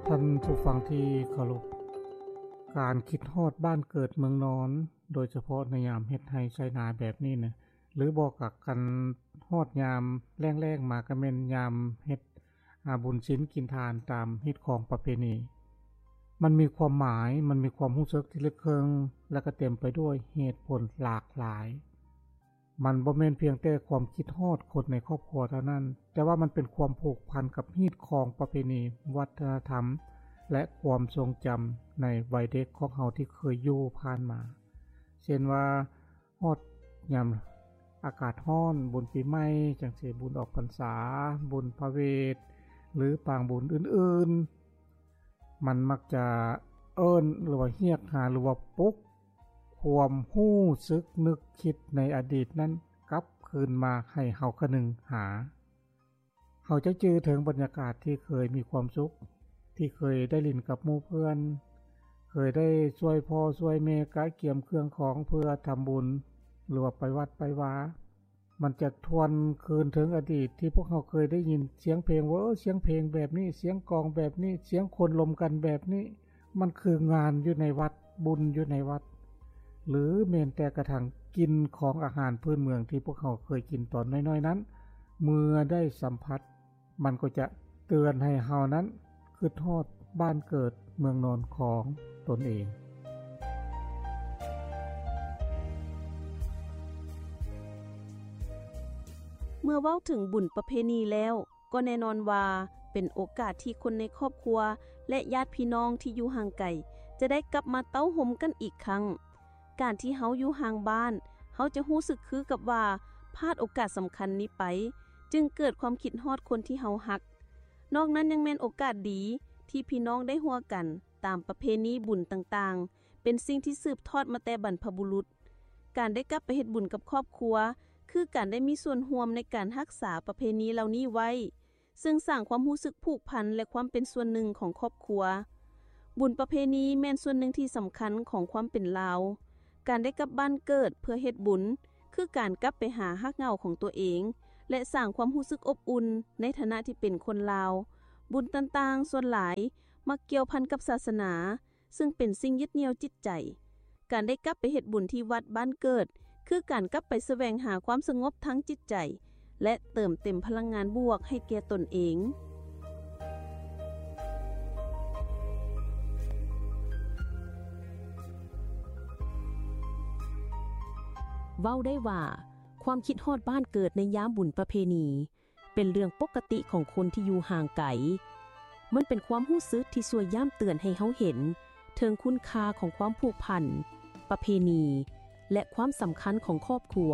ທ່ານຜູ້ຟັງທີ່ເຄົາລົບ, ການຄິດຮອດບ້ານເກີດເມືອງນອນ, ໂດຍສະເພາະໃນຍາມເຮັດໄຮ່ໄຖນາແບບນີ້ນະ, ຫຼືບໍ່ກໍຄັນຮອດຍາມແລ້ງໆມາ ກໍແມ່ນຍາມເຮັດ ອາ ບຸນສິນກິນທານຕາມຮີດຄອງປະເພນີ. ມັນມີຄວາມໝາຍ, ມັນມີຄວາມຮູ້ສຶກທີ່ເລິກເຊິ່ງ ແລະກໍເຕັມໄປດ້ວຍເຫດຜົນຫຼາກຫຼາຍ. ມັນບໍ່ແມ່ນພຽງແຕ່ຄວາມຄິດຮອດຄົນໃນຄອບຄົວເທົ່ານັ້ນ, ແຕ່ວ່າມັນເປັນຄວາມຜູກພັນກັບຮີດຄອງປະເພນີ, ວັດທະນະທຳ ແລະ ຄວາມຊົງຈຳໃນໄວເດັກຂອງເຮົາທີ່ເຄີຍຢູ່ຜ່ານມາ. ເຊັ່ນວ່າ ຮອດຍາມອາກາດຮ້ອນ, ບຸນປີໃໝ່ຈັ່ງຊີ້, ບຸນອອກພັນສາ, ບຸນພະເວດ ຫຼື ປາງບຸນອື່ນໆ, ມັນມັກຈະເອີ້ນ ຫຼືວ່າຮຽກຫາ ຫຼືວ່າປຸກຄວາມຮູ້ສຶກນຶກຄິດໃນອະດີດນັ້ນກັບຄືນມາໃຫ້ເຮົາຄະນຶງຫາ. ເຮົາຈະຈື່ເຖິງບັນຍາກາດທີ່ເຄີຍມີຄວາມສຸກ, ທີ່ເຄີຍໄດ້ຫຼິ້ນກັບໝູ່ເພື່ອນ, ເຄີຍໄດ້ຊ່ວຍພໍ່ຊ່ວຍແມ່ກະກຽມເຄື່ອງຂອງເພື່ອທຳບຸນ ຫຼືວ່າໄປວັດໄປວາ. ມັນຈະທວນຄືນເຖິງອະດີດທີ່ພວກເຮົາເຄີຍໄດ້ຍິນສຽງເພງ, ເວີ ສຽງເພງແບບນີ້, ສຽງກອງແບບນີ້, ສຽງຄົນລົມກັນແບບນີ້. ມັນຄືງານຢູ່ໃນວັດ, ບຸນຢູ່ໃນວັດ, ຫຼືແມ່ນແຕ່ກະທັ່ງກິ່ນຂອງອາຫານພື້ນເມືອງທີ່ພວກເຮົາເຄີຍກິນຕອນນ້ອຍໆນັ້ນ, ເມື່ອໄດ້ສຳຜັດ, ມັນກໍຈະເຕືອນໃຫ້ເຮົານັ້ນຄິດຮອດບ້ານເກີດເມືອງນອນຂອງຕົນເອງ. ເມື່ອເວົ້າເຖິງບຸນປະເພນີແລ້ວ, ກໍແນ່ນອນວ່າເປັນໂອກາດທີ່ຄົນໃນຄອບຄົວ ແລະ ຍາດພີ່ນ້ອງທີ່ຢູ່ຫ່າງໄກ ຈະໄດ້ກັບມາເຕົ້າໂຮມກັນອີກຄັ້ງ. ການທີ່ເຮົາຢູ່ຫ່າງບ້ານ, ເຮົາຈະຮູ້ສຶກຄືກັບວ່າພາດໂອກາດສຳຄັນນີ້ໄປ, ຈຶ່ງເກີດຄວາມຄິດຮອດຄົນທີ່ເຮົາຮັກ. ນອກນັ້ນຍັງແມ່ນໂອກາດດີທີ່ພີ່ນ້ອງໄດ້ຮ່ວມກັນຕາມປະເພນີບຸນຕ່າງໆ, ເປັນສິ່ງທີ່ສືບທອດມາແຕ່ບັນພະບຸລຸດ. ການໄດ້ກັບໄປເຮັດບຸນກັບຄອບຄົວ ຄືການໄດ້ມີສ່ວນຮ່ວມໃນການຮັກສາປະເພນີເຫຼົ່ານີ້ໄວ້, ເຊິ່ງສ້າງຄວາມຮູ້ສຶກຜູກພັນ ແລະ ຄວາມເປັນສ່ວນໜຶ່ງຂອງຄອບຄົວ. ບຸນປະເພນີແມ່ນສ່ວນໜຶ່ງທີ່ສຳຄັນຂອງຄວາມເປັນລາວ. ການໄດ້ກັບບ້ານເກີດເພື່ອເຮັດບຸນ ຄືການກັບໄປຫາຮາກເຫງົ້າຂອງຕົວເອງ ແລະ ສ້າງຄວາມຮູ້ສຶກອົບອຸ່ນໃນຖານະທີ່ເປັນຄົນລາວ. ບຸນຕ່າງໆສ່ວນຫຼາຍມັກກ່ຽວພັນກັບສາສະໜາ, ເຊິ່ງເປັນສິ່ງຍຶດໜ່ຽວຈິດໃຈ. ການໄດ້ກັບໄປເຮັດບຸນທີ່ວັດບ້ານເກີດ ຄືການກັບໄປສະແຫວງຫາຄວາມສະຫງົບທາງຈິດໃຈ ແລະ ເຕີມເຕັມພະລັງງານບວກໃຫ້ແກ່ຕົນເອງ. ເວົ້າໄດ້ວ່າ ຄວາມຄິດຮອດບ້ານເກີດໃນຍາມບຸນປະເພນີ ເປັນເລື່ອງປົກກະຕິຂອງຄົນທີ່ຢູ່ຫ່າງໄກ. ມັນເປັນຄວາມຮູ້ສຶກທີ່ຊ່ວຍຢ້ຳເຕືອນໃຫ້ເຮົາເຫັນເຖິງຄຸນຄ່າຂອງຄວາມຜູກພັນ, ປະເພນີ ແລະ ຄວາມສຳຄັນຂອງຄອບຄົວ.